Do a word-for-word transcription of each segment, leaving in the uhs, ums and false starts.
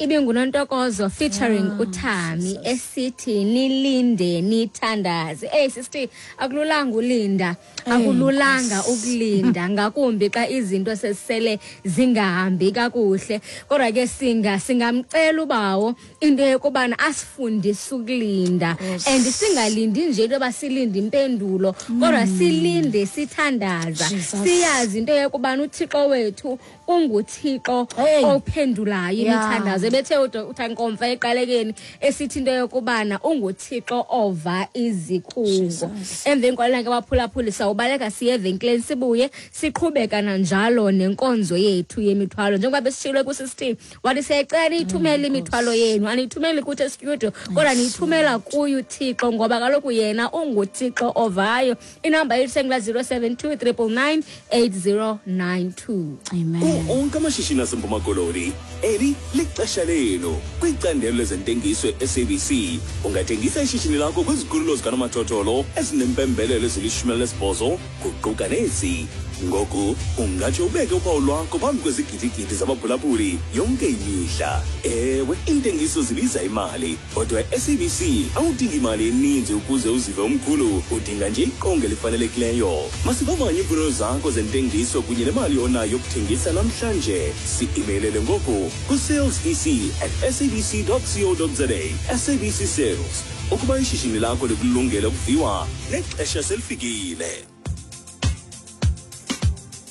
Ibingunontokozo featuring Ah, uThami esithi nilinde nithandaze. Hey sister, akululanga ulinda, akululanga ukulinda ngakumbi xa izinto sesele zingahambi kakuhle. Kodwa ke singa singamcela ubawo into yokubana asifundise ukulinda and singalindi nje into yoba silinde impendulo, kodwa silinde sithandaza. Jesus. Siyazi into yokubana uThixo wethu unguThixo Hey. ophendulayo Yeah. imithandazo. Ebethe uthankomfa eqalekeni esithi into yokubana unguThixo ova izikhungo. Jesus. Emveni kwalena ke baphulaphuli sawubaleka siye evenkileni sibuye siqhubeka nanjalo nenkonzo yethu yemithwalo. Njengoba besitshilo kusistem wathi siyayicela niyithumele imithwalo yenu, aniyithumeli kuthi estudio kodwa niyithumela kuye uThixo ngoba kaloku yena unguThixo ovayo. Inamba yethu sengula zero seven two triple nine eight zero nine two. Amen. Kuwo onke amashishini aseMpuma Koloni, eli lixesha lenu. Kwicandelo lezentengiso e-S A B C, ungathengisa ishishini lakho kwizikhululo zikanomathotholo ezinempembelelo ezilishumi elinesibhozo kuquka nezi. Ngoku ungatsho ubeke uphawu lwakho phambi kwezigidigidi zabaphulaphuli yonke imihla. Ewe, iintengiso zibiza imali, kodwa e-S A B C awudingi imali eninzi ukuze uzive umkhulu, udinga nje iqonga elifanelekileyo. Masivavanye iimfuno zakho zentengiso kunye nemali onayo yokuthengisa namhlanje. Si-emailele ngoku ku-sales e c at s a b c dot co dot z a. S A B C Sales, ukuba ishishini lakho likulungele ukuviwa, nexesha selifikile.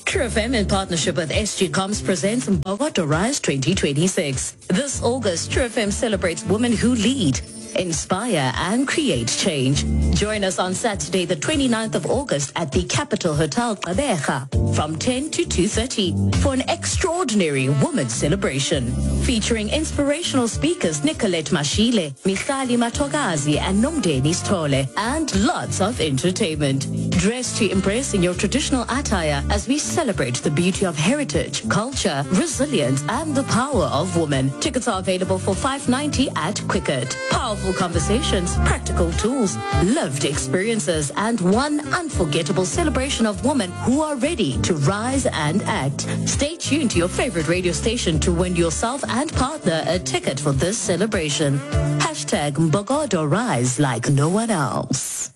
True F M in partnership with S G Comms presents Mbokodo Rise twenty twenty-six. This August, True F M celebrates women who lead, inspire and create change. Join us on Saturday, the twenty-ninth of August at the Capital Hotel Gqeberha from ten to two thirty for an extraordinary women's celebration featuring inspirational speakers Nicolette Mashile, Michali Matogazi and Nomdeni Sithole, and lots of entertainment. Dress to impress in your traditional attire as we celebrate the beauty of heritage, culture, resilience and the power of women. Tickets are available for five ninety at Quicket. Powerful conversations, practical tools, lived experiences, and one unforgettable celebration of women who are ready to rise and act. Stay tuned to your favorite radio station to win yourself and partner a ticket for this celebration. Hashtag Mbokodo Rise like no one else.